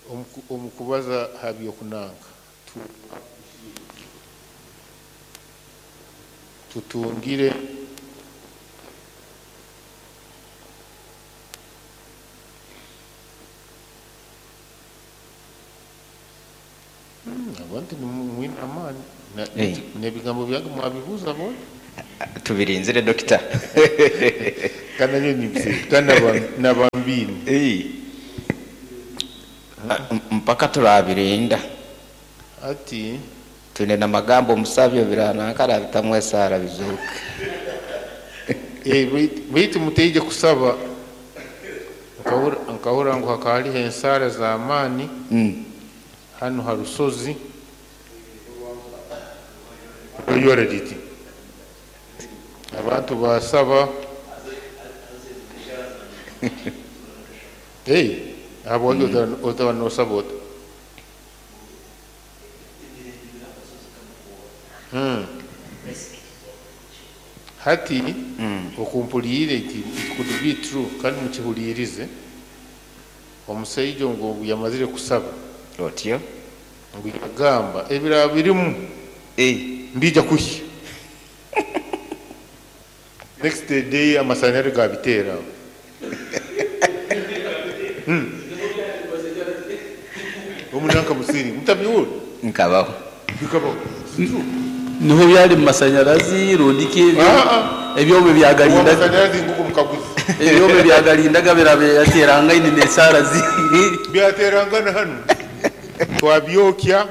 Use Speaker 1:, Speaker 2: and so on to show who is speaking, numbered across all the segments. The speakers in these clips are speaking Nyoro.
Speaker 1: Omu kubaza ha by'okunanka tutungire abantu nimwine amaani. N'ebigambo byange mwabibuuza bo.
Speaker 2: Tubirinzire, dokita.
Speaker 1: Kandi nanyo nimbise kandi nabambini.
Speaker 2: Mpaka turabirinda.
Speaker 1: Ati
Speaker 2: twine namagambo omusabyo biranankara bitamwesara bizuke.
Speaker 1: Baitu muteije kusaba nkahura ngu hakaba hariho ensaara z'amaani hano ha rusozi oyora riti abantu basaba hey habwaki otaba nosaba ota. Hati okumpuliire it could be true kandi mukihulirize. Omusaija ngu yamazire kusaba
Speaker 2: otyo
Speaker 1: ngu yagamba ebiraba birimu mbija kuhya. Next day amasanyarazi gabiteera. Omunanka musiri mutabiwuli
Speaker 2: nkabaho
Speaker 1: bikabaho.
Speaker 3: Niho byali mu masanyarazi rundiki ebyomo byagalindaga
Speaker 1: amasanyarazi nguko mukaguzi
Speaker 3: ebyomo byagalindaga birabe yaterangaine n'esaara zi
Speaker 1: byaterangana hano twabyokya.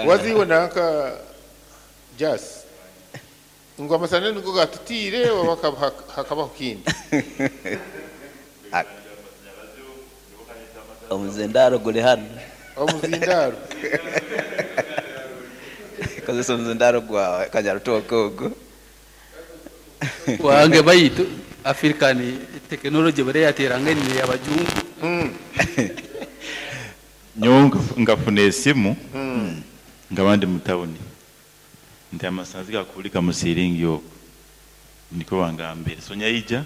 Speaker 1: Waziwe nanka jas ngo amasanyarazi niko gatutire oba hakabaho kindi.
Speaker 4: Omuzindaro guli hano.
Speaker 1: Omuzindaro
Speaker 4: kozesa omuzindaro gwawe kanyarutoke ogwo
Speaker 3: wange baitu African technology bare yaterangaine abajungu.
Speaker 5: Nyowe ngafuna esimu nga bandi mu tawuni nti amasanzi gakulika mu siringi okwo niko bangambire. So nyaija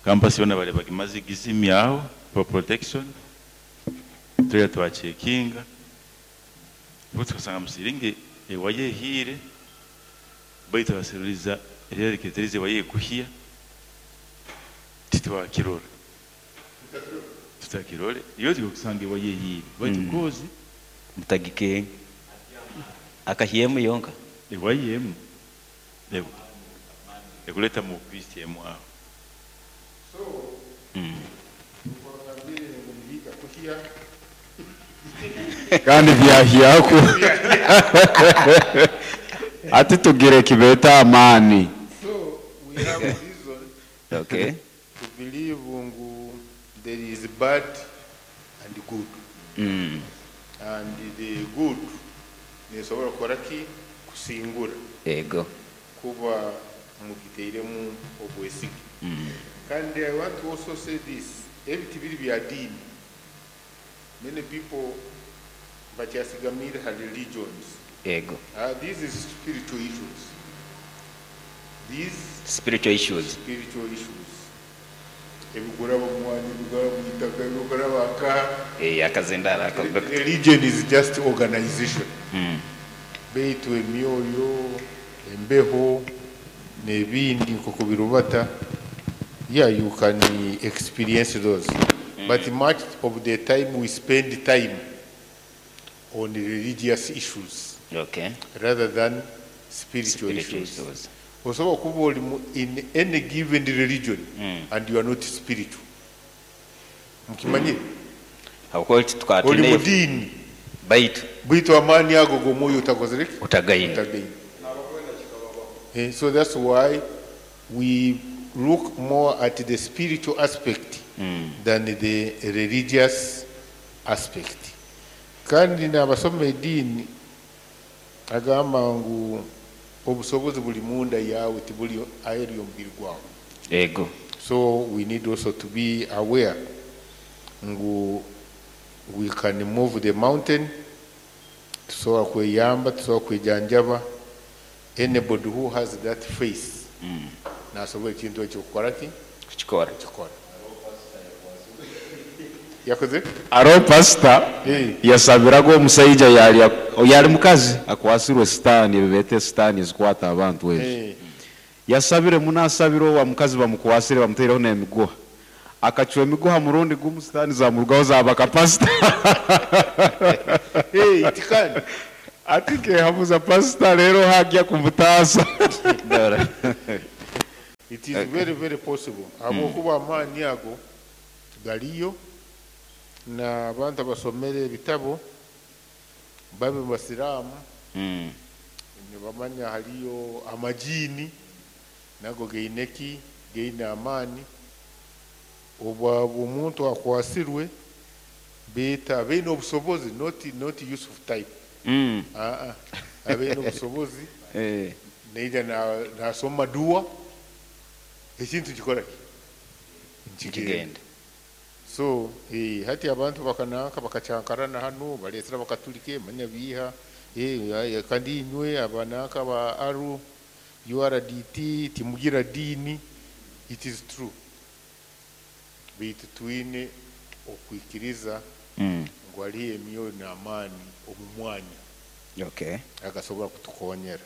Speaker 5: campus yona bale bagimaze gizimyaho for protection tuya twachekinga tukasanga mu siringi ewaye hire baitu baseruliza ereketerize waye kuhia titwakirora tutakirore iyo tukusanga ewaye hire baitu kozi
Speaker 4: mutagike akahiyemu yonka
Speaker 5: ewayemu ekuleta mu kristi emwaho.
Speaker 1: So
Speaker 6: kandi byahyako ati tugire kibeta amani.
Speaker 1: So we have reason
Speaker 4: okay
Speaker 1: to believe ngu there is bad and good. And the good nesobora kukora ki kusingura
Speaker 4: ego
Speaker 1: kuba mugiteiremu obwesige. Kandi I want to also say this, ebiti biri bya dini. Many people bakyasigamire ha religions.
Speaker 4: Ego.
Speaker 1: These is spiritual issues. These
Speaker 4: spiritual issues.
Speaker 1: Spiritual issues. Ebigura bamwani, ebigura mwitaka, ebigura baka.
Speaker 2: Akazindara ako.
Speaker 1: Religion is just organization. Beitu emyoyo, embeho, n'ebindi nk'oku birubata. Yeah, you can experience those. But much of the time we spend time on religious issues.
Speaker 4: Okay.
Speaker 1: Rather than spiritual issues. Osobola kuba oli in any given religion and you are not spiritual. Mukimanyire? Oli mu dini.
Speaker 4: Baitu
Speaker 1: amaani ago g'omwoyo utakozere ki?
Speaker 4: Utagaine.
Speaker 1: Utagaine. So that's why we look more at the spiritual aspect than the religious aspect. Kandi n'abasoma eddiini agamba ngu obusobozi buli munda yawe tibuli aheeru y'omubiri gwawe.
Speaker 4: Ego.
Speaker 1: So we need also to be aware ngu we can move the mountain, tusobola kweyamba, tusobola kwejanjaba. Anybody who has that faith nasobola ekintu ekyo kukora ki?
Speaker 4: Kukikora.
Speaker 1: Kukikora. Yakoze?
Speaker 6: Aro pasita yasabiraga omusaija yali yali mukazi akwasirwe sitaani, ebibete sitaani ezikwata abantu ezo. Yasabire muno, asabire owa mukazi bamukwasire bamuteireho n'emiguha, akacwa emiguha murundi gumu, sitaani zamurugaho zabaka pasita.
Speaker 1: Hey, it can.
Speaker 6: Ati kehabuza pasita rero hajya kumutaasa.
Speaker 1: It is very very possible, habwokuba amaani ago galiyo n'abantu abasomere ebitabo babe basiraamu nibamanya haliyo amajini nago gaine ki gaine amaani. Obwa omuntu akwasirwe beeta baine obusobozi, not Yusuf type. Abaine obusobozi naija nasoma dua, ekintu kikora ki?
Speaker 4: Kigenda.
Speaker 1: Nkigenda. So hati abantu bakananka bakacyankarana hano, baletera bakatulike manya biiha kandi inywe abananka ba aru URDT timugira dini. It is true, baitu twine okwikiriza ngu haliyo emyoyo n'amaani omu mwanya agasobora kutukonyera.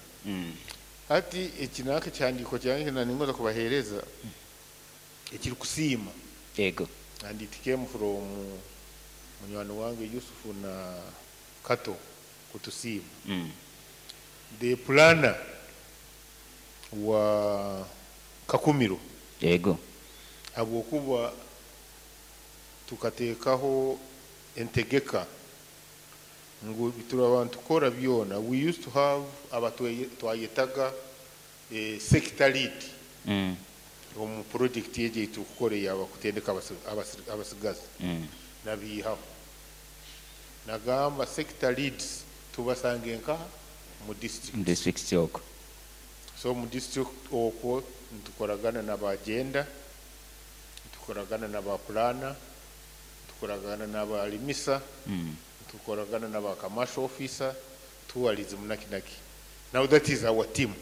Speaker 1: Hati eki nanka ekihandiiko kyange naningoza kubaheereza ekirikusiima.
Speaker 4: Yego.
Speaker 1: And it came from munywani wange Yusufu na Kato kutusiima. The planner wa Kakumiro, habwokuba tukateekaho entegeka ngu turaba ntukora byona. We used to have abatwayetaga sector lead omu project egi eitukukora eyaba kutendeka abasigazi. Nabiihaho, nagamba sector leads tubasange nkaha mu district.
Speaker 4: Mu district okwo.
Speaker 1: So mu district okwo ntukoragana n'abagenda, ntukoragana n'aba planner, ntukoragana n'abalimisa, tukoragana n'aba commercial officer, tourism naki naki. Now that is our team.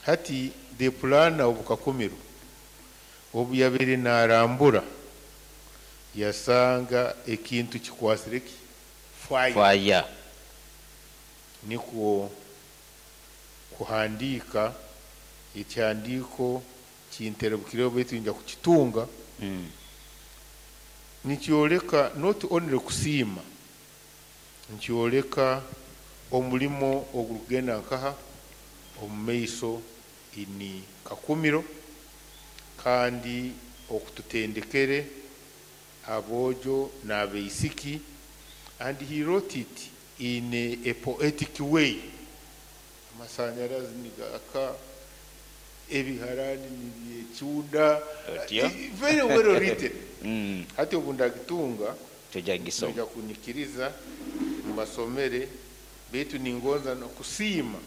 Speaker 1: Hati the planner obu Kakumiro obu yabere narambura yasanga ekintu kikwasire ki fire.
Speaker 4: Fire.
Speaker 1: Nikwo kuhandika ekyandiko kinterebukireho, baitu nja kukitunga. Nikyoleka not only kusiima, nikyoleka omulimo ogurukugenda nkaha omu maiso ini Kakumiro, kandi okututendekere aboojo n'abaisiki. And he wrote it in a poetic way. Amasanyarazi nigaka, ebiharani nibyekyunda.
Speaker 4: Otyo.
Speaker 1: Very well written. Hati obu ndagitunga
Speaker 4: Tujja gisoma.
Speaker 1: nja kunyikiriza mbasomere, baitu ningonza nokusiima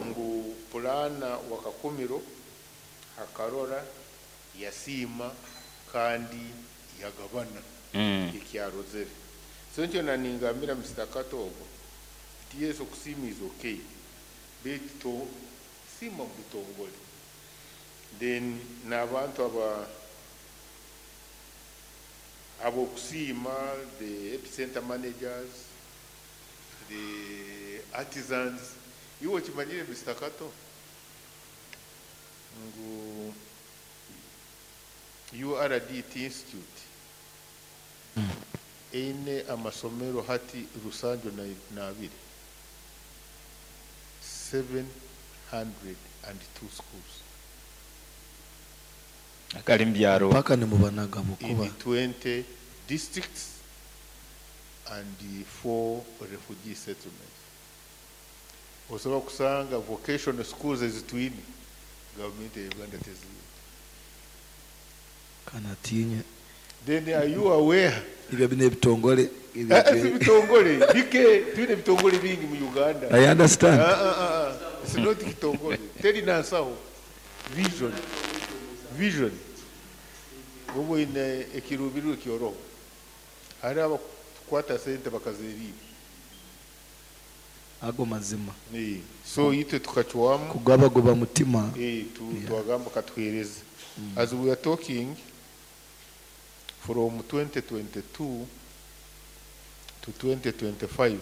Speaker 1: ngu planner wa Kakumiro akarora, yasiima kandi yagabana ekyarozere. So nkyo naningambira Mr. Kato ogwo nti yes, okusiima is okay, baitu to siima mu bitongole. Then n'abantu aba abokusiima, the epicenter managers, the artisans. Iwe okimanyire Mr. Kato ngu URDT Institute eine amasomero hati rusanju na abiri, 702 schools.
Speaker 4: Akali mubyaro.
Speaker 7: Paka nimubanaga
Speaker 1: in
Speaker 7: bukuba.
Speaker 1: 20 districts and the four refugee settlements. Osobola kusanga vocational schools ezitwine gavumenti ya Uganda teziyina.
Speaker 7: Kanatinye.
Speaker 1: Then are you aware?
Speaker 7: Ibyo bino ebitongole.
Speaker 1: Si bitongole bike, twine ebitongole bingi mu Uganda.
Speaker 7: I understand.
Speaker 1: Ah, ah, ah, ah. It's not kitongole, teri nansaho vision, vision oba oyine ekiruubirirwa ekyoroho, hari abakukwata sente bakazeriira.
Speaker 7: Ago mazima.
Speaker 1: So itwe tukacwamu
Speaker 7: Kugabagoba mutima.
Speaker 1: Twagamba katuhereze. As we are talking, From 2022 to 2025,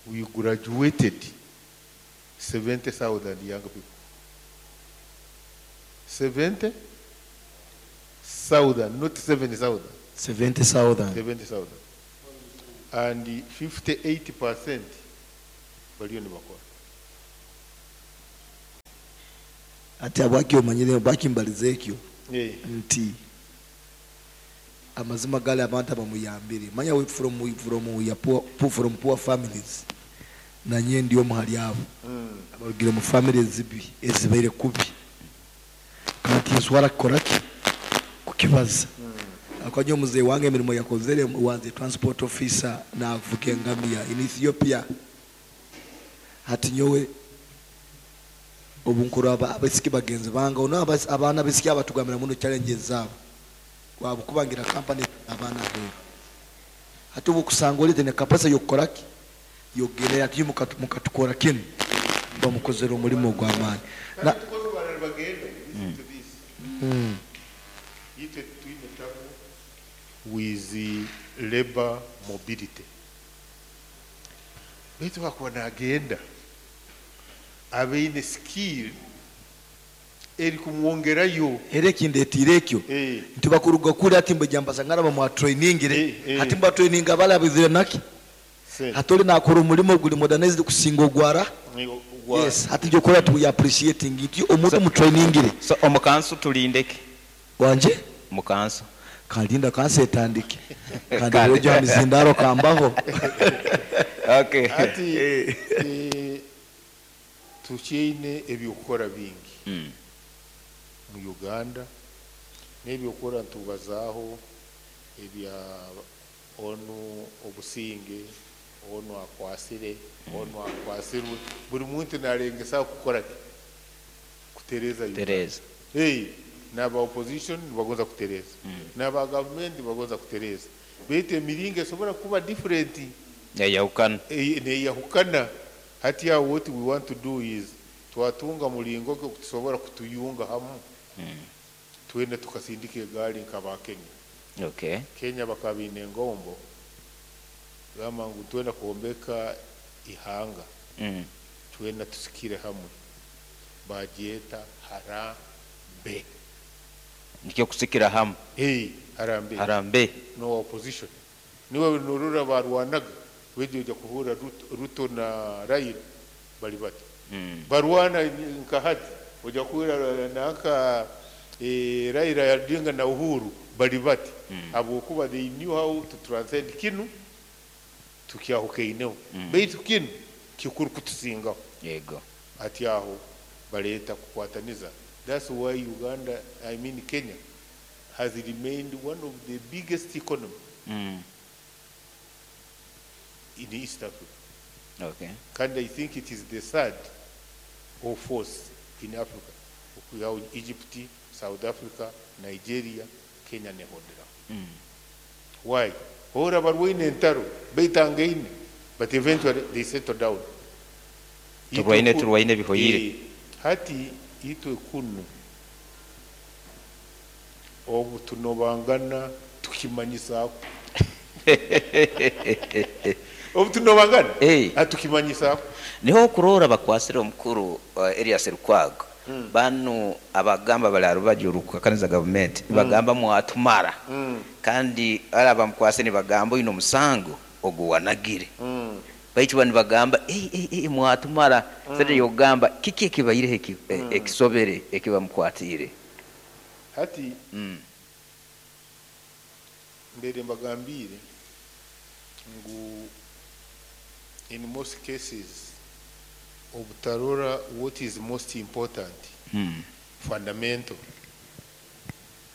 Speaker 1: we graduated 70,000 young people. 70,000, not 7,000.
Speaker 7: 70,000.
Speaker 1: 70,000. And 58% baliyo nibakora.
Speaker 7: Ati abwaki omanyire bakimbaliza ekyo nti amazima gali abantu abamuyambire manya we from ya poor, from poor families, nanye ndi omu hali abo abarugire mu families zibi ezibaire kubi, kandi nswara kukoraki kukibaza. Akajya muzee wange emirimo yakozere wanze transport officer navuga engamiya in Ethiopia. Hati nyowe obunkuru abasiki bagenzi bange ono abaana besiki abatugambira muno challenges zabo wabukubangira company abaana heru. Hati obukusanga olete ne capacity yokukoraki yogere ati mukatukora kinu bamukozera omulimo gw'amaani.
Speaker 1: Na with the labor mobility baitu bakuba nagenda abeine skill eri kumwongerayo
Speaker 7: era ekindetiire ekyo nti bakuruga kuri ati mbejambaza ngara bamwa trainingire ati mba training abala bizire naki hatoli nakora omulimo guli modernized kusinga ogwara. Yes, hati jokora tu we appreciating it omuntu mu trainingire.
Speaker 4: So omukansu tulindeke
Speaker 7: wanje
Speaker 4: mukansu
Speaker 7: kalinda kansa etandike kandi rojo mizindaro kambaho.
Speaker 4: Okay.
Speaker 1: Ati tukiine ebyokukora bingi mu Uganda n'ebyokukora ntubazaaho ebya onu obusinge onu akwasire onu akwasirwe buri muntu narengesa kukora ki kutereza
Speaker 4: Uganda.
Speaker 1: Hey, n'aba opposition bagonza kutereza n'aba government bagonza kutereza baitu emiringo esobora kuba different
Speaker 4: neyahukana
Speaker 1: neyahukana. Hati ya what we want to do is twatunga mulingo kutusobora kutuyunga hamu twende tukasindika egaali nkaba Kenya.
Speaker 4: Okay.
Speaker 1: Kenya bakabine engombo gamba ngu twenda kuombeka ihanga twenda tusikire hamwe bagyeta harambe
Speaker 4: nikyo kusikira hamu.
Speaker 1: Hey, harambe
Speaker 4: harambe
Speaker 1: no opposition niwe nurura barwanaga wejoja kuhura Ruto na Raila bali bati barwana nka hati oja kuhura naka Raila yadinga na Uhuru bali bati abokuba they knew how to transcend kinu tukyahukeineho baitu kinu kikuru kutusingaho
Speaker 4: yego
Speaker 1: ati aho baleta kukwataniza. That's why Uganda, I mean Kenya, has remained one of the biggest economy in East Africa.
Speaker 4: Okay.
Speaker 1: And I think it is the third or fourth in Africa. We have Egypt, South Africa, Nigeria, Kenya nehondera. Why? Hora barwaine entaro baitangaine, but eventually they settle down.
Speaker 4: Turwaine turwaine bihoyire.
Speaker 1: Hati itwe kunu obu tunobangana tukimanyisaako obu tunobangana atukimanyisaako.
Speaker 4: Niho okurora bakwasire omukuru Erias Lukwago banu abagamba bali arubaju rukakaniza government bagamba mwatumara kandi ara bamukwase nibagamba ino musango oguwanagire baitu bani bagamba mwatumara sente yogamba kiki ekibaire ekisobere ekibamukwatire
Speaker 1: hati mbere mbagambire ngu in most cases obutarora what is most important fundamental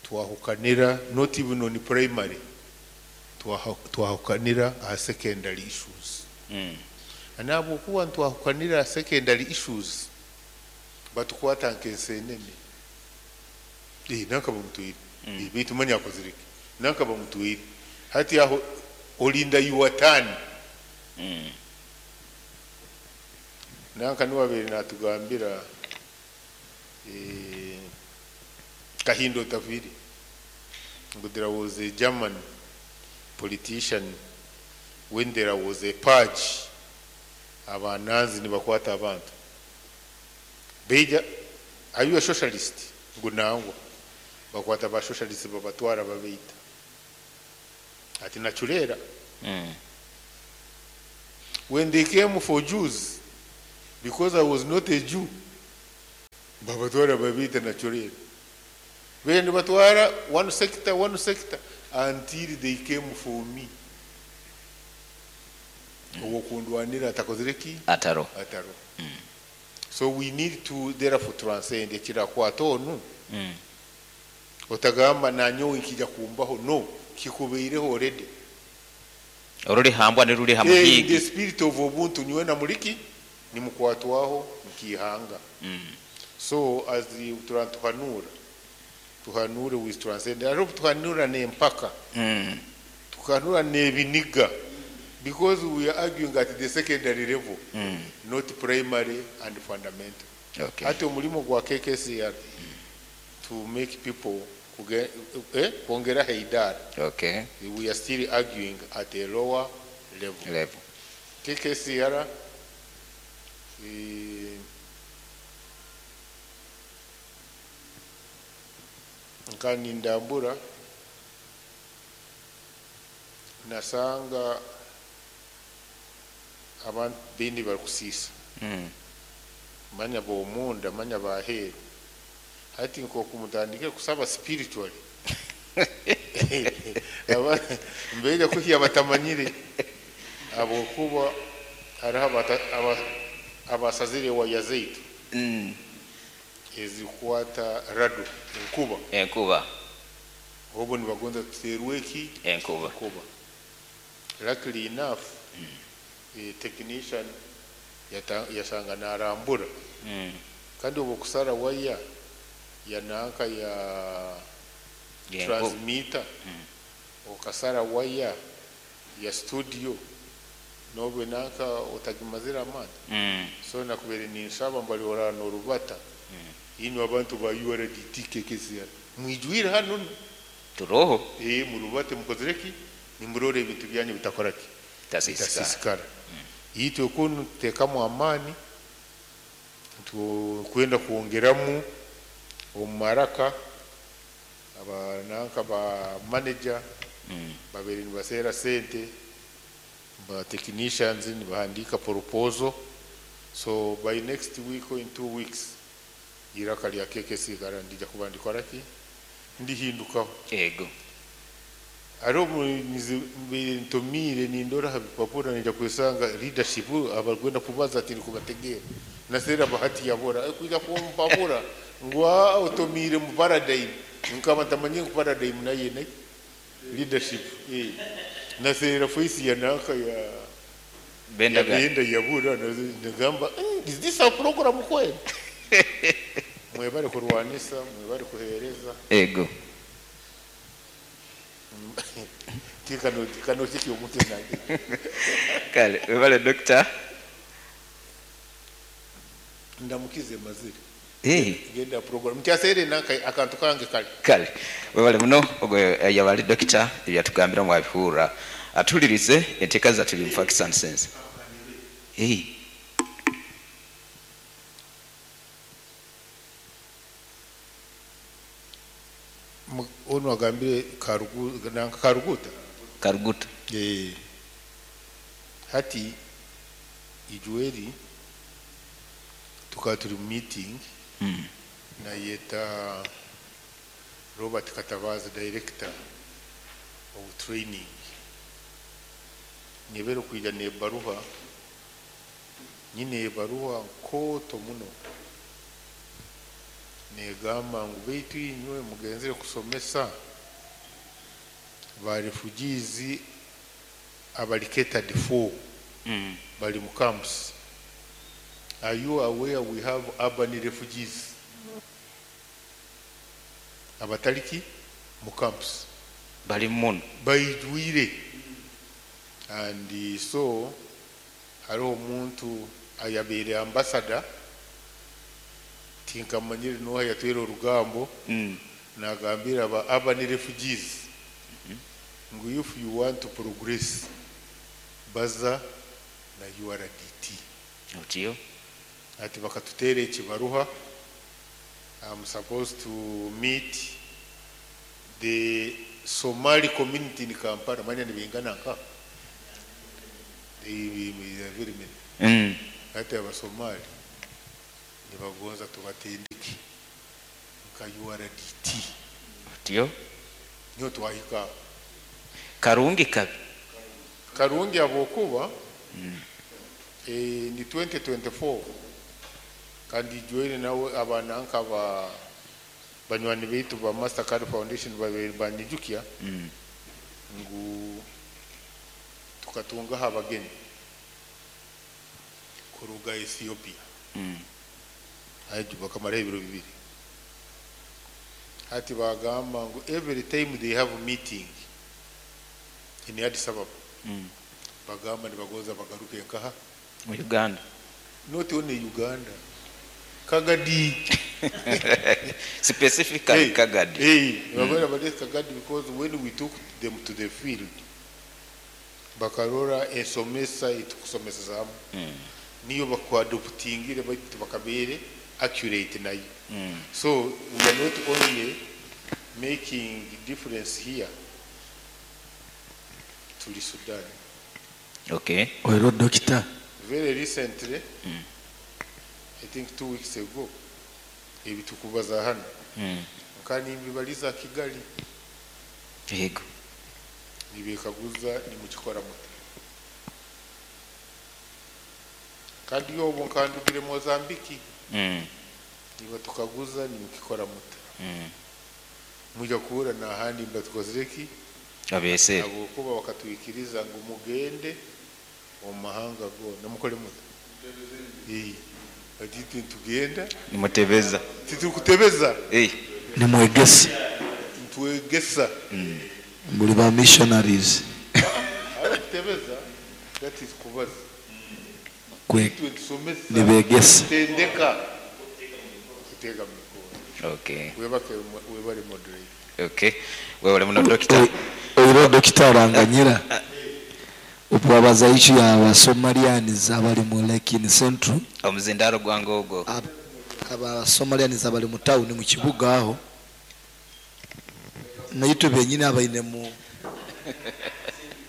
Speaker 1: twahukanira not even on primary twahukanira a secondary issues. Anabo kuwa twahukanira secondary issues batukwata nkensenene nanka bamutwire bitu manya koziriki nanka bamutwire hati aho olinda yuwatani nanka niwabere natugambira Kahindo Tafiri Ngu there was a German politician when there was a purge, Abanazi nibakwata abantu. Beija, are you a socialist? Ngu nangwa. Bakwata ba socialist babatwara babeita. Ati nachulera. When they came for Jews, because I was not a Jew, babatwara babeita nachulera. Bene batwara one sector, until they came for me. Owokundwanira atakozire ki?
Speaker 4: Ataro.
Speaker 1: Ataro. So we need to therefore transcend ekirakwata onu. Otagamba nanyowe nkija kumbaho, no, kikubeireho already.
Speaker 4: Oruri hambwa ni ruri
Speaker 1: In
Speaker 4: hamuhigi.
Speaker 1: the spirit of ubuntu niwe na muliki nimukwatwaho nkihanga. So as the tuhanura tuhanure with transcend. I hope tuhanura ne mpaka. Tuhanura ne biniga. Because we are arguing at the secondary level, not primary and fundamental.
Speaker 4: Okay.
Speaker 1: Ate omulimo gwa KKCR to make people kuongera haidara.
Speaker 4: Okay.
Speaker 1: We are still arguing at a lower level. KKCR nkani ndambura nasanga abantu bindi bari kusisa. Manya bomunda manya baheru hati nko kumutandike kusaba spiritually. Aba mbega kuhiya batamanyire abo kuba hariho abasazire wa yazeitu. Ezikwata rado enkuba.
Speaker 4: Enkuba.
Speaker 1: Obo nibagonza tuterweki
Speaker 4: enkuba.
Speaker 1: Enkuba. Luckily enough, a technician yasanga narambura. Kandi obo kusara waya yananka ya transmitter. Okasara waya ya studio nobe nanka otagimazira amani. So nakubere ninsaba mbali orano rubata. Ino abantu ba URDT KKCR. Mwijwire hano
Speaker 4: turoho.
Speaker 1: Murubate mukozereki nimurore ebintu byanyu bitakora ki? Bitasisikara. Itwe kunu tekamu amani kwenda kuongeramu omumaraka abananka ba manager babiri nibasera sente ba technicians nibahandika proposal. So by next week or in 2 weeks iraka lya KKC garandija kubandikora ki ndihindukaho.
Speaker 4: Ego
Speaker 1: aro ntomire nindora habipapura nija kusanga leadership abarwenda kubaza ati kubategera nasera bahati yabora kuja kumpapura ngwa otomire mu paradigm nkaba ntamanye ku paradigm naye ne leadership nasera face ya naka ya
Speaker 4: benda
Speaker 1: benda yabura nagamba is this a program kweli? Mwebare kurwanisa mwebare kuhereza.
Speaker 4: Ego
Speaker 1: tikano tiki omuntu nange.
Speaker 4: Kale webale doctor.
Speaker 1: Ndamukize mazire. Genda program ntyasere nanka akantu kange kale.
Speaker 4: Kale webale muno ogwe yabali doctor ebyatugambira mwabihura atulirize enteka za tuli facts and sense.
Speaker 1: Ono agambire Karuguta.
Speaker 4: Karuguta.
Speaker 1: Hati ijueri tukaba turi meeting na yeta Robert Katabaza director of training. Nyebero kuija ne baruha nyine baruha nkoto muno negamba ngu beitu inywe mugenzere kusomesa ba refugees abali catered for bali mu camps. Are you aware we have urban refugees abataliki mu camps
Speaker 4: bali muno
Speaker 1: baijwire? And so hariho omuntu ayabere ambassador tinkamanyire noha yatwera orugambo nagambira aba urban refugees Ngu if you want to progress, baza na URDT.
Speaker 4: Otyo.
Speaker 1: Ati bakatuteera ekibaruha. I'm supposed to meet the Somali community in Kampala. Manya nibingana nka. They are very many. Ati Abasomali nibagonza tubatendeke nka URDT.
Speaker 4: Otyo.
Speaker 1: Niyo twahika.
Speaker 4: Karungi kabi?
Speaker 1: Karungi abokuba ni 2024 kandi join nawe abana nka ba banywani baitu ba Mastercard Foundation babiri banijukya ngu tukatungaho abagenyi kuruga Ethiopia. Haji bakamara ebiro 2. Hati bagamba ngu every time they have meeting in Addis Ababa, bagamba nibagonza bagaruke nkaha
Speaker 4: mu Uganda.
Speaker 1: Not only Uganda, Kagadi.
Speaker 4: Specifically.
Speaker 1: Hey,
Speaker 4: Kagadi.
Speaker 1: Hey, mm. Kagadi, because when we took them to the field, bakarora ensomesa itukusomesa niyo bakwadoptingire baitu bakabere accurate nayo. So we are not only making difference here to Sudan.
Speaker 4: Okay.
Speaker 7: Oiro doctor.
Speaker 1: Very recently, I think 2 weeks ago, ebitukubaza hano. Kandi mbibaliza Kigali.
Speaker 4: Yego.
Speaker 1: Nibekaguza nimukikora muti. Kandi yobo nkandugire Mozambique. Niba tukaguza nimukikora muti. Mujya kuhura na handi mbatukozereki
Speaker 4: abese.
Speaker 1: Abo kuba bakatwikiriza ngo mugende mu mahanga go namukore muti. Ati tugenda
Speaker 4: nimutebeza.
Speaker 1: Titukutebeza.
Speaker 7: Nimwegesa.
Speaker 1: Ntwegesa.
Speaker 7: Muri ba missionaries.
Speaker 1: Tebeza, that is kubaza.
Speaker 7: Kwe nibegesa.
Speaker 1: Tendeka. Kutega mikono.
Speaker 4: Okay.
Speaker 1: Webake webale moderate.
Speaker 4: Okay. Wewe muno doctor.
Speaker 7: Oiro doctor aranganyira. Obwabaza ichu ya Abasomalians abali mu Lake in Central.
Speaker 4: Omuzindaro gwange ogwo.
Speaker 7: Abasomalians abali mu town mu kibuga aho. Naitwe benyini abaine mu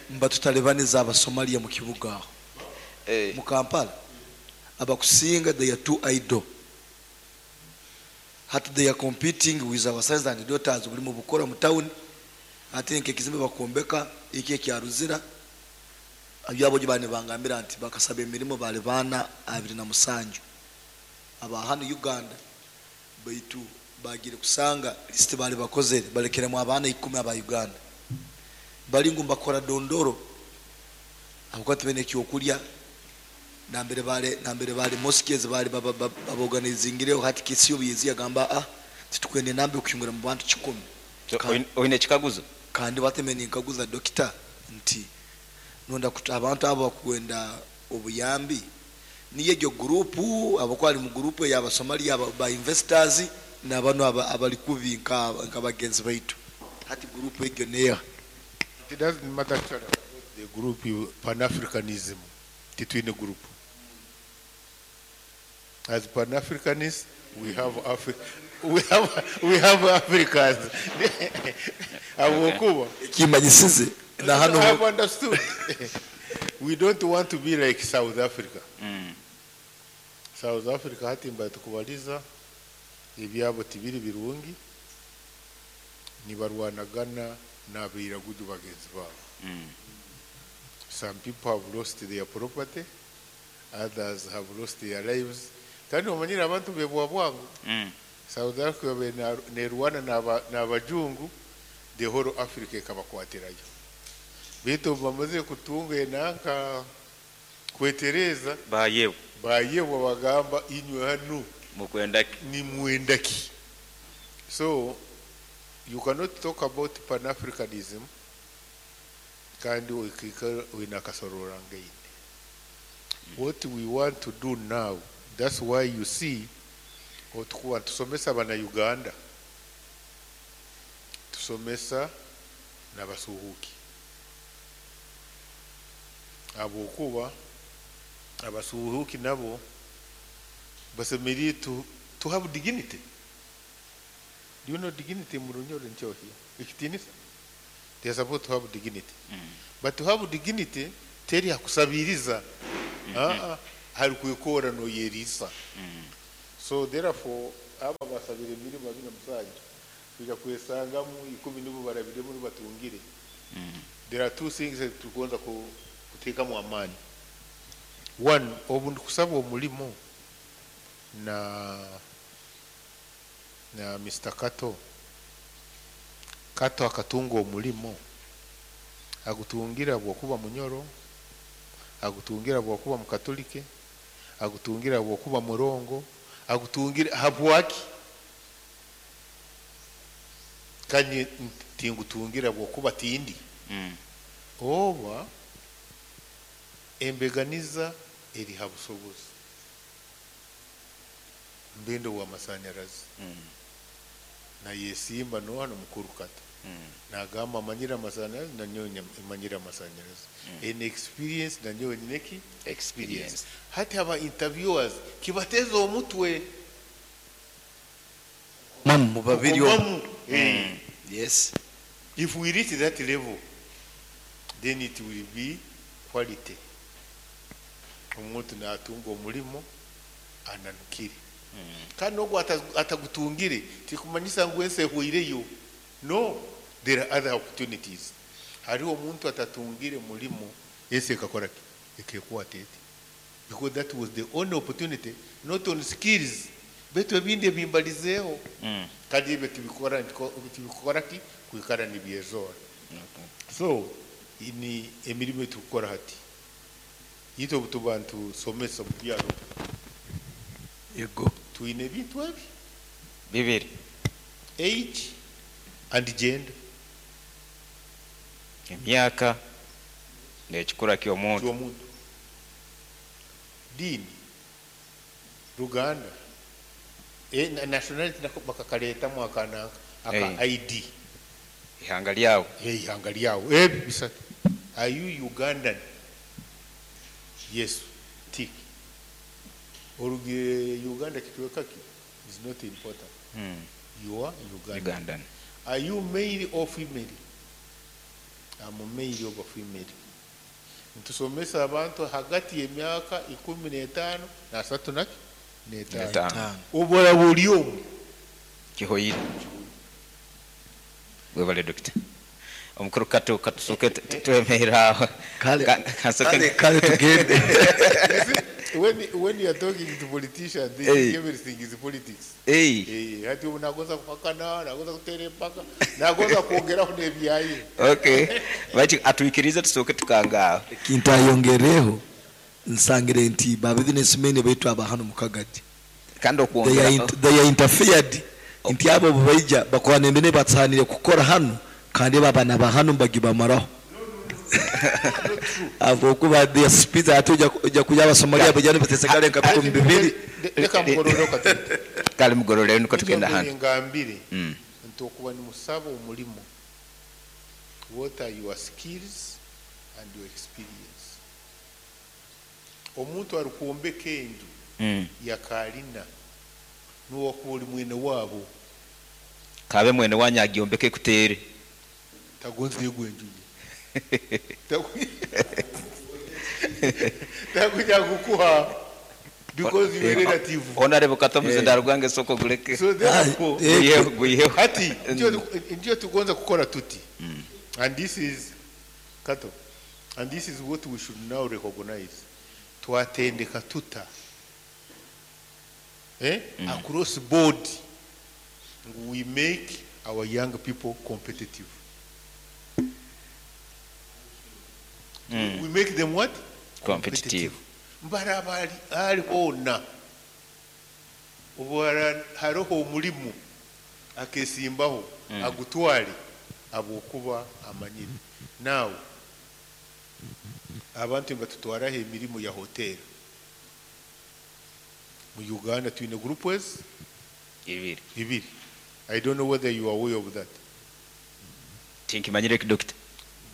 Speaker 7: mbatutalebaniza Abasomalia mu kibuga aho. Mu Kampala abakusinga they are too idle. Hati they are competing with our sons and daughters buli mu bukora mu town. Ate nke kizimbe bakombeka iki kyaruzira abyabo bane bangambira nti bakasaba emirimu bali bana 27 aba hano Uganda baitu bagire kusanga list bali bakozere balekeremu abana 10 aba Uganda bali ngumba kora dondoro abakwati bene kyokulya nambere bale mosques bali baboganizingire hati kisiyo bizi yagamba titukwende nambe kuyungura mu bantu 10.
Speaker 4: Oine kikaguzo
Speaker 7: kandi batemeni nkaguza doctor nti nonda abantu abo bakwenda obuyambi niye gyo group abakwali mu group ya Abasomalia ba investors nabano abali kubi nka bagenzi baitu hati group egyo neya.
Speaker 1: It doesn't matter actually about the group Pan-Africanism titwine group. As Pan-Africanists we have we have Africans. Abokuba
Speaker 7: kimanyisize na hano
Speaker 1: I have understood. We don't want to be like South Africa. South Africa hatimba tukubaliza ebyabo tibiri birungi nibarwanagana n'abiraguju bagenzi babo. Some people have lost their property, others have lost their lives. Kandi omanyira abantu bebwa bwangu. South Africa nerwana n'abajungu, the whole Africa ekabakwatirayo. Bitu bamaze kutunga enanka kwetereza bayebwa bagamba inywe hano
Speaker 4: mukwendaki
Speaker 1: ni mwendaki. So you cannot talk about Pan-Africanism kandi winakasorora ngaine. What we want to do now, that's why you see otukuwa tusomesa bana Uganda, tusomesa n'abasuhuki. Habwokuba abasuhuuki nabo basemeriire to have dignity. Do you know dignity mu Runyoro nkyohia? Ekitiinisa. They are supposed to have dignity. But to have dignity teri hakusabiriza. Ah, ah, hari kwikora noyerisa. So therefore aba basabire emirimu 27 kuja kwesangamu 10 nibo barabiremu nibatungire. There are two things that tugonza kuteekamu amaani. One, obu ndikusaba omulimo na Mr. Kato, Kato akatunga omulimo, agutungira bwokuba Munyoro, agutungira bwokuba Mukatolike, agutungira bwokuba Murongo, agutungira habwaki? Kandi tingutungira bwokuba tindi. Oba embeganiza eri ha busobozi, mbendo w'amasanyarazi nayesimba no hano mukuru Kato nagamba amanyire amasanyarazi, nanyowe manyire amasanyarazi, ene experience, nanyowe nyineki
Speaker 4: experience.
Speaker 1: Hati aba interviewers kibateza omutwe.
Speaker 7: Mamu mu babiri omu.
Speaker 1: Kukomamu.
Speaker 7: Yes.
Speaker 1: If we reach that level, then it will be quality. Omuntu natunga omulimo ananukire, kandi nogwo atagutungire tikumanyisa ngu ensi ehweireyo. No, there are other opportunities. Hariho omuntu atatungire mulimo, ensi ekakora ki? Ekekwata eti, because that was the only opportunity, not on skills, betu ebindi ebimbalizeeho. Kandi ebyo tibikora, tibikora ki kwikara nibyezora. So ni emirimu etukukora hati itwe obutuba ntusomesa omu byaro.
Speaker 7: Yego.
Speaker 1: Twine ebintu ebi
Speaker 4: bibiri:
Speaker 1: age and gender.
Speaker 4: Emyaka n'ekikura ky'omuntu.
Speaker 1: Ky'omuntu, diini, ruganda, nationality nako bakakaleetamu akananka aka ID.
Speaker 4: Ihanga lyawe.
Speaker 1: Ihanga lyawe. Ebi bisatu. Are you Ugandan? Yes, tick. Orugire Uganda kitweka ki is not important. You are Ugandan.
Speaker 4: Ugandan.
Speaker 1: Are you male or female? I'm male or female. Ntusomesa abantu hagati y'emyaka 15 na asatu naki n'etaano.
Speaker 4: N'etaano.
Speaker 1: Obora buli omu.
Speaker 4: Kihoyire. Webale dokita. Omukuru Kato, katusooke twemerera aho.
Speaker 7: Kale.
Speaker 4: Kale
Speaker 7: Kale tugende.
Speaker 1: When you are talking to politicians, they think everything is politics.
Speaker 4: Hey.
Speaker 1: Eh, hati ubu nagoza kuhakana, nagoza kutera empaka, nagoza kwongeraho n'ebyaye.
Speaker 4: Okay, baki atwikirize tusooke tukangaaho.
Speaker 7: Kintayongereho nsangire nti ba businessmen baitu aba hano mu Kagadi
Speaker 4: kandi
Speaker 7: they are,
Speaker 4: okwongera
Speaker 7: they are interfered nti abo bwe baija bakora nembene batsanire kukora hano, kandi babana ba hano mbagibamaraho abo kuba their speed ate ojja kuja Abasomalia bajja batesegale nka 2000.
Speaker 1: Reka mugorore katete.
Speaker 4: Kale mugorore niko tugenda hano.
Speaker 1: Ngambire nti okuba nimusaba omulimu, what are your skills and your experience? Omuntu arikwombeka enju yakalina nuwakuba oli mwene waabo.
Speaker 4: Kabe mwene wanyu agyombeke kuteere.
Speaker 1: Tagonza yegwa enju ye. Takuja kukuha because you are relative.
Speaker 4: Honorable Kato, muzindaro gwange soko guleke.
Speaker 1: So therefore,
Speaker 4: Guyiheho, guyiheho.
Speaker 1: Hati ndio tugonza kukora tuti, and this is Kato, and this is what we should now recognize. Twatendeka tuta across board we make our young people competitive. We make them what?
Speaker 4: Competitive.
Speaker 1: Mbaraba ali hona obwara hariho omulimu akesimbaho agutwale abwokuba amanyire. Now abantu nibatutwaraho emirimu ya hotel mu Uganda. Twine groups
Speaker 4: ibiri.
Speaker 1: Ibiri. I don't know whether you are aware of that.
Speaker 4: Tinkimanyire, dokita.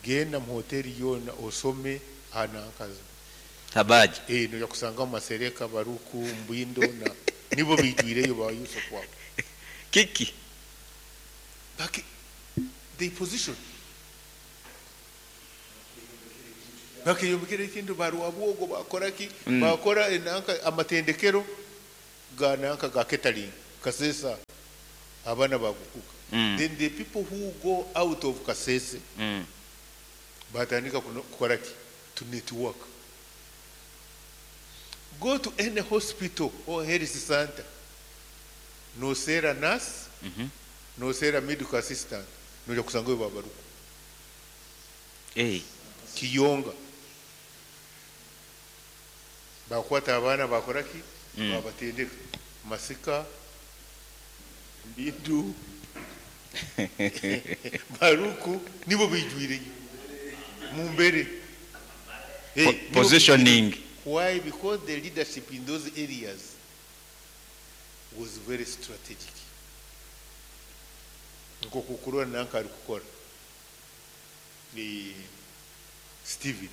Speaker 1: Genda mu hoteli yona osome. Hanankazi.
Speaker 4: Habaji.
Speaker 1: Noja kusangamu Masereka, Baruku, Mbindo na nibo biijwireyo ba Yusuf wabo.
Speaker 4: Kiki?
Speaker 1: Baki they position. Bakeyombekera ekintu barwabwogo bakora ki? Bakora enanka amatendekero ga nanka ga catering Kasesa abaana bagukuka. Then the people who go out of Kasese batandika kukola ki? To network. Go to any hospital or health center. Noseera nurse, noseera medical assistant, noja kusangayo babaruku. Kiyonga. Bakwata abaana bakora ki? Babatendeka. Masika, Mbindu, Baruku, nibo bijwireyo. Mumbere. Hey,
Speaker 4: Positioning.
Speaker 1: Why? Because the leadership in those areas was very strategic. Nkokukurora nanka ari kukora. Ni Steven.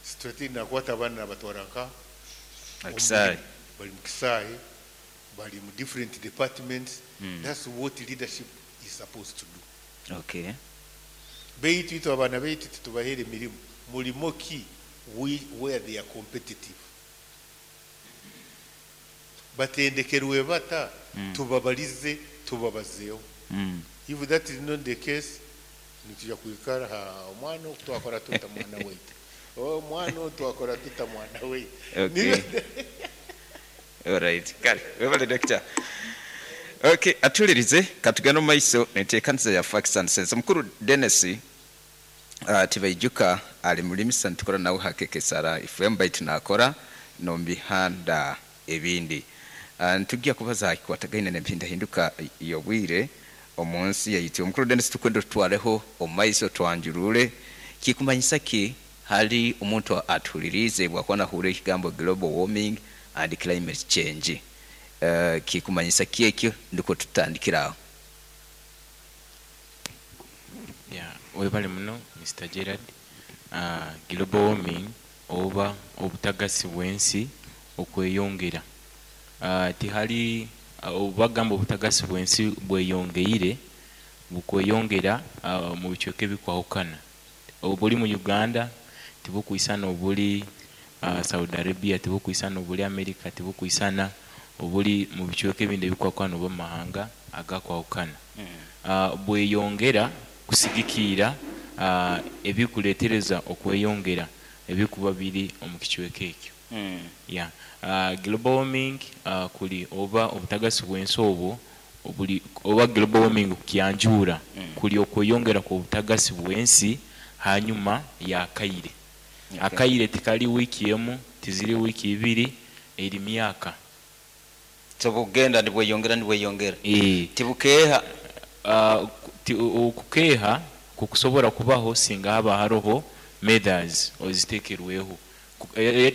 Speaker 1: Strategic nakwata abaana nabatwara nka
Speaker 4: Akisaayi.
Speaker 1: Bali mu kisaayi, bali mu different departments. That's what leadership is supposed to do. Beitu itwe abaana beitu titubahere emirimu. Mulimo ki where they are competitive. Batendekerwe bata, tubabalize, tubabazeho. If that is not the case, nituja kuikara ha omwana twakora tuta mwana weitu. Oh, mwana twakora tuta mwana weitu.
Speaker 4: All right. Kale, webale doctor. Okay, atulirize katugenda mu maiso neteekanisa ya Facts and Sense. Mukuru Dennis Tibaijuka ali mulimisa ntukora nawe hakekesara FM baitu nakora nombihanda ebindi. Ntujja kubaza hakikwatagaine n'empindahinduka y'obwire omunsi yaitu. Omukuru Dennis tukwenda tutwareho omumaiso twanjurure kikumanyisa ki hali omuntu atulirize bwakuba nahurira ekigambo global warming and climate change. Kikumanyisa ki ekyo ndiko tutandikiraho.
Speaker 8: Yeah, webale muno Mr. Gerard. Global warming oba obutagasi bw'ensi okweyongera. Tihali obagamba obutagasi bw'ensi bweyongeire bukweyongera mu bicweka ebikwahukana. Obuli mu Uganda tibukwisana obuli Saudi Arabia, tibukwisana obuli America, tibukwisana obuli mu bicweka ebindi ebikwahukana oba mu mahanga agakwahukana. Bweyongera kusigikiira ebikuleetereza okweyongera ebikuba biri omu kicweka ekyo. Yeah. Global warming kuli oba obutagasi bw'ensi obwo obuli oba global warming kukyanjura kuli okweyongera ku butagasi bw'ensi hanyuma ya kaire. Akaire tikali wiki emu, tiziri wiki ibiri, eri myaka.
Speaker 4: So bugenda nibweyongera nibweyongera. Tibukeha.
Speaker 8: Okukeha kukusobola kubaho singa haba haroho methods ozitekerweho.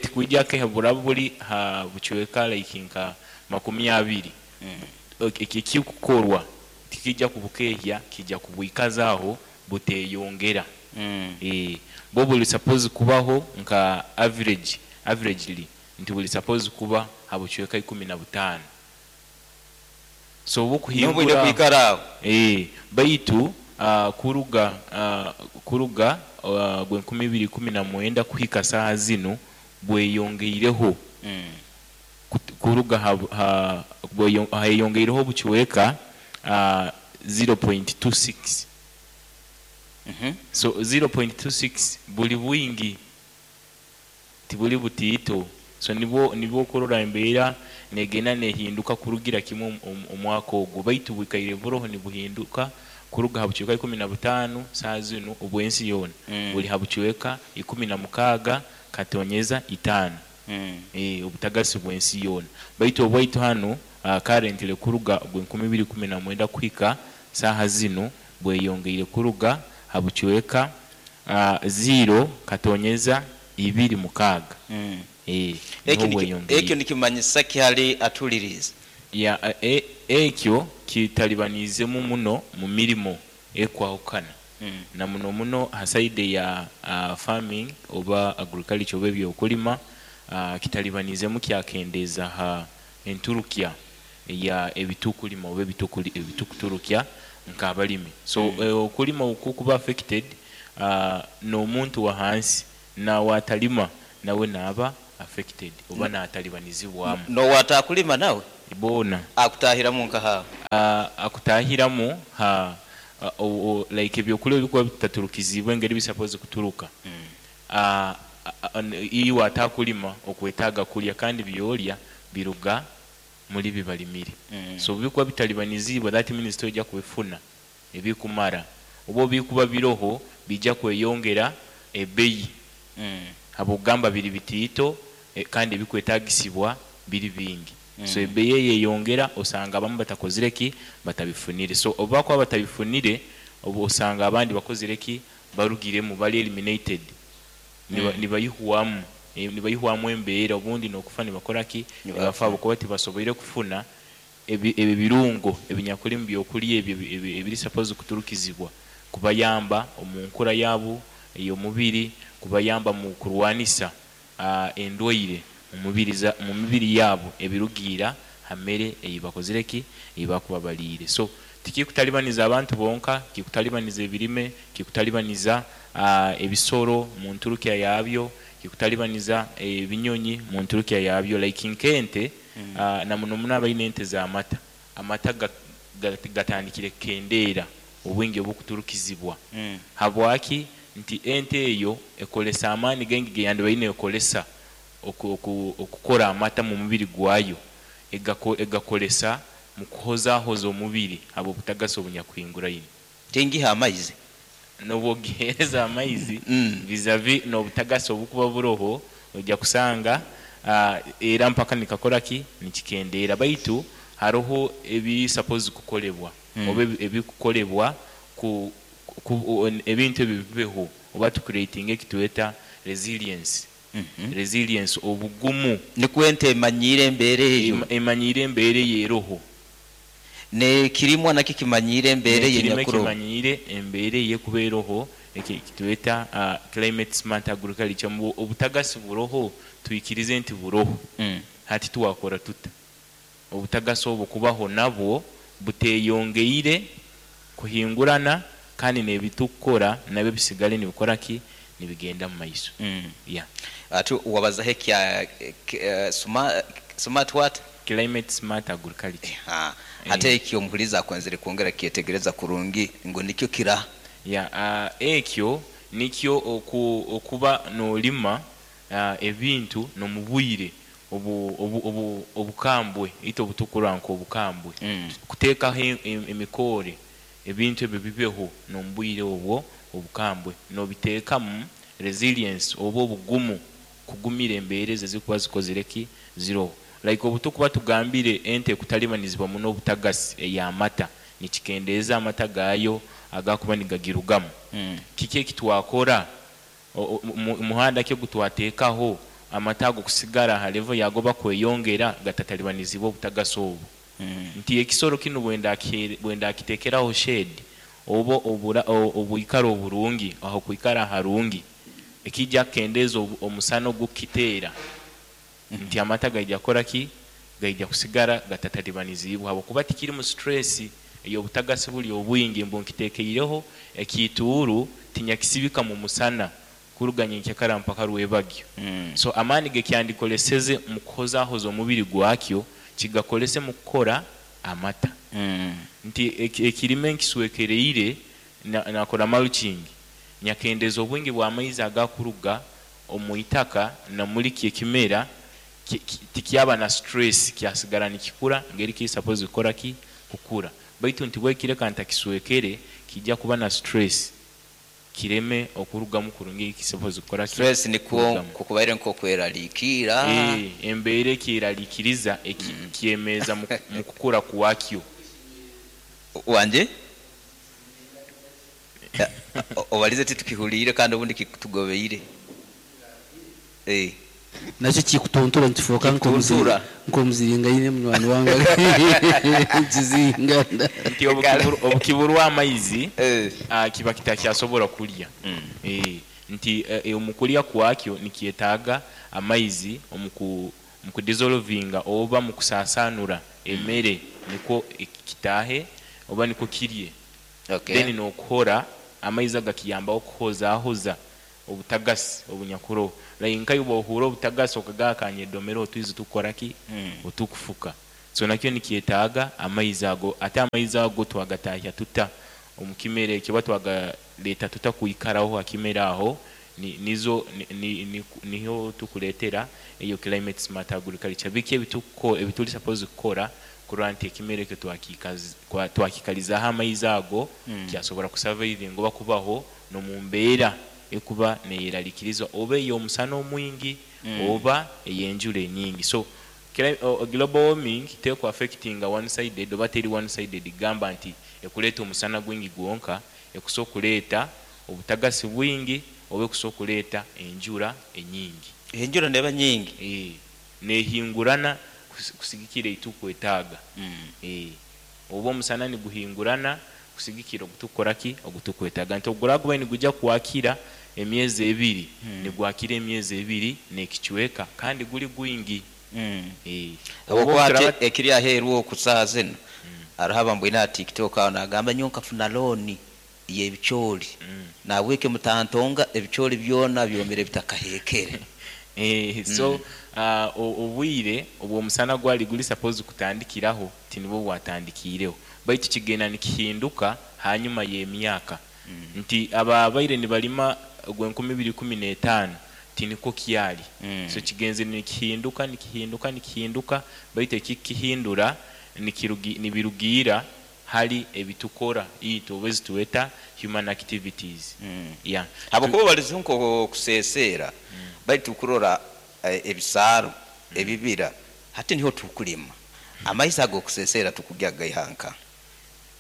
Speaker 8: Tikujja keha buraba buli ha bucweka like nka 20. Ekikukorwa tikijja kubukehya, kijja kubwikazaho buteyongera. Bo buli suppose kubaho nka averagely nti buli suppose kuba ha bucweka 15. So bukuhingura
Speaker 4: N'obwire kwikara aho.
Speaker 8: Baitu kuruga gwe 2019 kuhika saha zino bweyongeireho. Kuruga hayongeireho bucweka 0.26. So 0.26 buli bwingi tibuli butiito. So nibwo kurora embeera negenda nehinduka kurugira kimwe omwaka ogwo, baitu bwikaire buroho nibuhinduka kuruga ha bucweka 15 saha zino obwensi yoona. Buli ha bucweka 16 katonyeza 5. Obutagasi bw'ensi yoona. Baitu obwaitu hano currently kuruga gwe 2019 kuhika saha zino bweyongeire kuruga ha bucweka 0 katonyeza 26. Niho bweyongeire.
Speaker 4: Ekyo nikimanyisa ki hali atuliriza?
Speaker 8: Ya, ekyo kitalibanizemu muno mu mirimo ekwahukana. Na muno muno ha side ya farming oba agriculture oba ebyokulima, kitalibanizemu kyakendeeza ha enturukya ya ebitukulima oba ebitukuturukya nk'abalimi. So okulima okukuba affected, n'omuntu wa hansi nawe atalima nawe naaba affected oba natalibanizibwamu.
Speaker 4: Nowatakulima nawe?
Speaker 8: Boona.
Speaker 4: Akutahiramu nkaha?
Speaker 8: Akutahiramu ha like ebyokulya ebikuba bitaturukizibwe engeri bisapozi kuturuka. Iwe atakulima okwetaaga kulya, kandi byolya biruga muri bibalimire. So bikuba bitalibanizibwe, that means tojja kubifuna ebikumara, oba bikuba biroho bijja kweyongera ebeyi habwokugamba biri bitiito, kandi ebikwetagisibwa biri bingi. So ebeyi eyeyongera, osanga abamu batakozire ki, batabifunire. So obu bakuba batabifunire, obu osanga abandi bakozire ki, barugiremu, bali eliminated. Nibayihwamu nibayihwamu embeera, obundi n'okufa nibakora ki, nibafa habwokuba tibasoboire kufuna ebirungo ebinyakuli mu byokulya ebyo ebiri suppose kuturukizibwa kubayamba omu nkura yaabo ey'omubiri, kubayamba mu kurwanisa endwaire mu mibiri yaabo ebirugiira ha mere ei bakozire ki, ei bakuba baliire. So tikikutalibaniza abantu bonka, kikutalibaniza ebirime, kikutalibaniza ebisoro mu nturukya yabyo, kikutalibaniza ebinyonyi mu nturukya yabyo, like nk'ente, na muno muno abaine ente z'amata, amata gatandikire kukendeera obwingi obukuturukizibwa. Habwaki? Nti ente eyo ekolesa amaani gaingi geyandibaire neekolesa okukora amata mu mubiri gwayo, egakolesa mu kuhozahoza omubiri habw'obutagasi obunyakuhinguraine.
Speaker 4: Tingiha amaizi.
Speaker 8: N'obwogiheereza amaizi, vis-a-vis n'obutagasi obukuba buroho, ojja kusanga era mpaka nikakora ki, nikikendeera. Baitu haroho ebiri suppose kukolebwa oba ebikukolebwa ku ebintu ebi bibeho, oba tucreatinge ekitweta resilience. Resilience, obugumu.
Speaker 4: Nikwo ente emanyiire embeera eyo.
Speaker 8: Emanyiire embeera eyo eroho.
Speaker 4: Nekirimwa nakyo kimanyiire embeera eyo.
Speaker 8: Ekirime
Speaker 4: enyakuroho.
Speaker 8: Kimanyiire embeera eyo ekuba eroho, ekitweta climate smart agriculture. Mbu obutagasi buroho, twikirize nti buroho. Hati twakora tuta obutagasi obwo kubaho nabwo buteyongeire kuhingurana, kandi n'ebitukukora nabyo bisigale nibikora ki, nibigenda mu maiso. Yeah.
Speaker 4: Ati wabazaho ekya smart what?
Speaker 8: Climate smart agriculture.
Speaker 4: Hati ekyo omuhulizi akwenzere kwongera kyetegereza kurungi ngu nikyo kira.
Speaker 8: Yeah, ekyo nikyo okuba nolima ebintu n'omubwire obukambwe, itwe obutukurora nk'obukambwe, kuteekaho emikoore ebintu ebyo bibeho n'omubwire obwo obukambwe, nobiteekamu resilience oba obugumu kugumira embeera ezo ezikuba zikozire ki, ziroho. Like obutukuba tugambire ente ekutalibanizibwa muno obutagasi ey'amata, nikikendeeza amata gaayo agakuba nigagirugamu. Kiki ekitwakora? Muhanda ki ogutwateekaho amata ago kusigara ha level yago bakweyongera gatatalibanizibwa obutagasi obu? Nti ekisoro kinu bwendakiteekeraho shade oba obwikaro oburungi, aho kwikara harungi, ekijja kukendeeza omusana ogukukiteera, nti amata gaija kukora ki, gaija kusigara gatatalibanizibwa habwokuba tikirimu stress ey'obutagasi buli obwingi, mbu nkiteekeireho ekiituuru tinyakisibika mu musana kuruga nyenkyakara mpaka rwebagyo. So amaani gekyandikoleseze mu kuhozahoza omubiri gwakyo kigakolese mu kukora amata. Nti ekirime nkiswekereire, nakora mulching, nyakendeeza obwingi bw'amaizi agakuruga omu itaka na muli ekimera, tikyaba na stress, kyasigara nikikura ngeri kiri suppose kukora ki, kukura. Baitu nti bwekireka ntakiswekere, kijja kuba na stress, kireme okurugamu kurungi ekisuppose kukora ki,
Speaker 4: Stress nikwo
Speaker 8: kurugamu.
Speaker 4: Kukubaire nk'okweraliikirra.
Speaker 8: Embeera ekyeraliikiriza kyemeza mu kukura kwakyo.
Speaker 4: Wanje obalize titukihuliire kandi obundi kitugobeire.
Speaker 3: Nakyo kikutuntura nikifuuka
Speaker 4: Kikutuntura.
Speaker 3: nk'omuziringaine munywani wange kizingana.
Speaker 8: Nti obukiburwa amaizi, kiba kitakyasobora kulya. Nti omu kulya kwakyo nikyetaaga amaizi omu kudissolvinga oba mu kusasanura emere nikwo kitahe oba nikwo kirye. Then nokuhora amaizi agakiyambaho okuhozahoza obutagasi obunyakuroho, like nkayo bwohura obutagasi okagamba kanyedomere otwizi tukukoraki otukufuka. So nakyo nikyetaaga amaizi ago. Ate amaizi ago twagatahya tuta omu kimera ekyo oba twagaleta tuta kwikaraho ha kimera aho, nizo niho tukuletera eyo climate smart agriculture, biki ebituli supposed kukora kurora nti ekimera ekyo twakikalizaho amaizi ago, kyasobora kusurvivinga oba kubaho n'omu mbeera ekuba neyeralikiriza oba ey'omusana omwingi oba ey'enjura enyingi. So global warming teku affectinga one sided oba teri one sided gamba nti ekuleeta omusana gwingi gwonka, ekusobola kuleeta obutagasi bwingi oba ekusobola kuleeta enjura enyingi.
Speaker 4: Enjura neba nyingi.
Speaker 8: Nehingurana kusigikira eitukwetaaga. Oba omusana niguhingurana kusigikira ogutukukoraki ogutukwetaaga, nti oguraguba nigujya kwakira emyezi 2, nigwakira emyezi 2 n'ekicweka kandi guli gwingi.
Speaker 4: Habwokuba ati ekiri aheeru oku saaha zinu haroho abambwine ha TikTok aho nagamba nyowe nkafuna looni y'ebicooli, nahabweki mutantonga ebicooli byona byomere bitakahekere.
Speaker 8: So obwire obw'omusana gwali guli supposed kutandikiraho tinibwo bwatandikiireho, baitu kigenda nikihinduka hanyuma y'emyaka, nti ababaire nibalima ogw'e 2015 tinikwo kyali. So kigenzere nikihinduka, nikihinduka, nikihinduka, baitu ekikihindura nibirugiira hali ebitukora itwe oba ezitweta human activities. Yeah.
Speaker 4: Habwokuba balize nk'okuseseera, baitu kurora ebisaaro ebibira hati niho tukulima amaizi ag'okuseseera tukugya gaiha nka.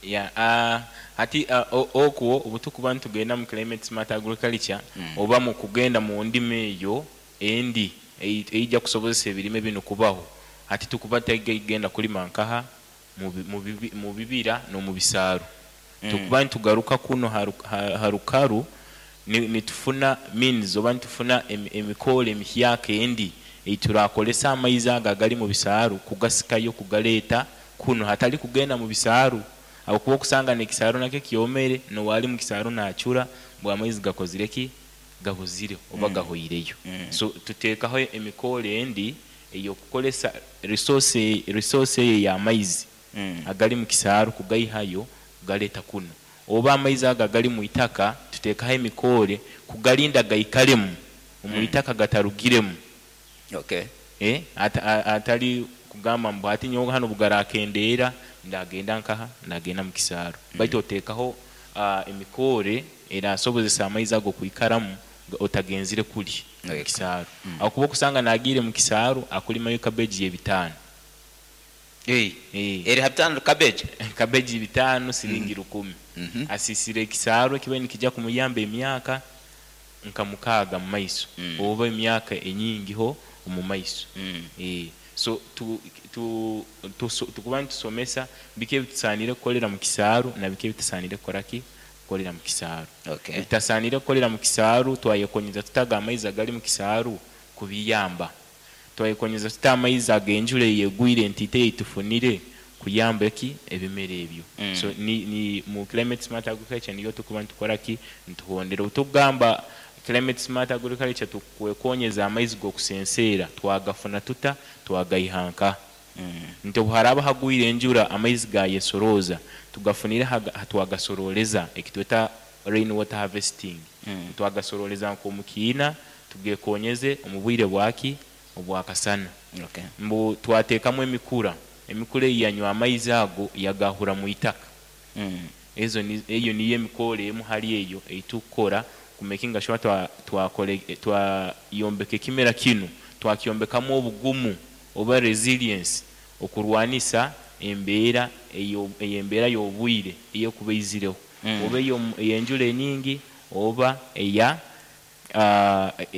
Speaker 8: Yeah, hati okwo obutukuba nitugenda mu climate smart agriculture oba mu kugenda mu ndima eyo endi eija kusobozesa ebirime binu kubaho, hati tukuba tutagenda kulima nkaha mu bibira n'omu bisaaru. Tukuba nitugaruka kuno ha rukaru nitufuna means oba nitufuna emikoro emihyaka endi eiturakolesa amaizi ago agali mu bisaaru kugasikayo kugaleeta kunu hatali kugenda mu bisaaru, habwokuba okusanga n'ekisaaru nakyo kyomere, n'owali mu kisaaru nacura bwa amaizi gakozire ki, gabuzire oba gahoireyo. So tuteekaho emikoro endi ey'okukolesa resource eyo ey'amaizi agali mu kisaaru kugaihayo kugaleeta kuno, oba amaizi ago agali mu itaka tuteekaho emikore kugalinda gaikaremu omu itaka gatarugiremu. Atali kugamba mbu hati nyowe hanu bugarakendeera ndagenda nkaha, ndagenda mu kisaaru, baitu oteekaho emikore erasobozesa amaizi ago kwikaramu otagenzire kuli mu kisaaru, habwokuba okusanga nagiire mu kisaaru akulimayo cabbage y'ebitaano.
Speaker 4: Eri ha 5 cabbage.
Speaker 8: Cabbage 5 siringi 1000. Asisire ekisaaru ekibaire nikijja kumuyamba emyaka nka 6 mu maiso oba emyaka enyingiho omu maiso. So tukuba nitusomesa biki ebitusaanire kukolera mu kisaaru na biki ebitusaanire kukoraki kukolera mu kisaaru. Ebitasaanire kukolera mu kisaaru, twayekonyeza tutaga amaizi agali mu kisaaru kubiyamba, twayekonyeza tuta amaizi ag'enjura eyegwire ntiite eitufunire kuyamba eki ebimera ebyo. So ni mu climate smart agriculture niyo tukuba nitukoraki nituhondera. Obutukugamba climate smart agriculture, tukwekonyeza amaizi g'okusenseera twagafuna tuta, twagaiha nka nti obu haraba hagwire enjura amaizi gayesorooza tugafunire twagasoroleza ekitweta rain water harvesting. Twagasoroleza nk'omu kiina tugekonyeze omu bwire bwaki obwakasana. Mbu twateekamu emikura, emikura eyi yanywa amaizi ago yagahura mu itaka. Ezo eyo niyo emikoro emu hali eyo eitukukora kumakinga sure twayombeka ekimera kinu, twakyombekamu obugumu oba resilience okurwanisa embeera eyo embeera y'obwire eyekuba eizireho, oba ey'enjura enyingi oba eya.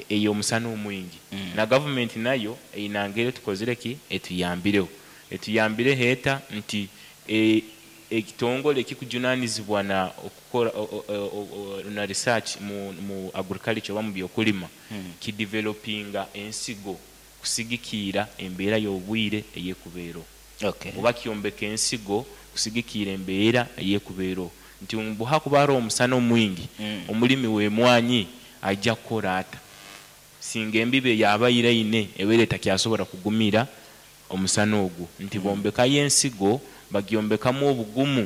Speaker 8: Ey'omusana omwingi. Na gavumenti nayo einangere tukozire ki, etuyambireho, etuyambireho eta nti ekitongole ekikujunanizibwa na okukora na research mu agriculture oba mu byokulima kidevelopinga ensigo kusigikiira embeera y'obwire eyekubeero. Oba kyombeka ensigo kusigikiira embeera eyekubeero, nti mbu hakuba hariho omusana omwingi, omulimi w'emwanyi ajja kukora ata singa embibo eyabaire aine ebeire etakyasobora kugumira omusana ogwo, nti bombekayo ensigo, bagyombekamu obugumu.